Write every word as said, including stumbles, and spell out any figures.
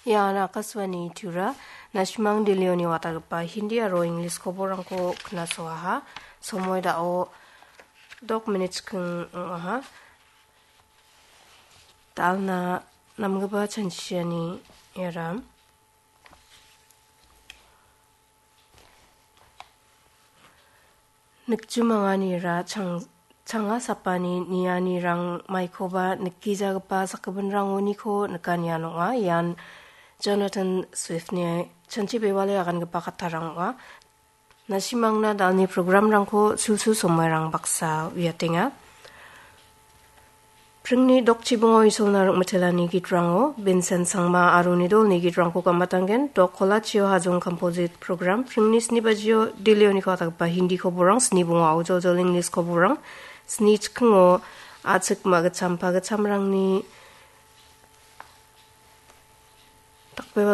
Ian Akashvani Tura, nasimang Delhioni watagipa Hindi aro English koborrangko knasoaha. Somoi dao dok minit chikking ong·aha. Dalna namgipa chanchiani iaram. Nikjumanganira chang-, changa sapani nianirang maikoba nikgijagipa sakgipinrangoniko nikanian ong·a. Ian Jonathan Swiftni chanchi bewale agangipa kattarang ong·a. Nasimangna dalni programrangko sulsul somoirang baksa uiatenga. Pringni dokchibongo Isolna ring·mitelani gitrango Vincent Sangma aro nidolni gitrangko gam·atanggen. Dok Kolachio Hajong Composite Program pringni sni bajio Delhioniko atgipa Hindi koborrang, sni bongo aujojol English koborrang, sni chikingo a·chik ma·gitchampa gitchamrangni dakbeba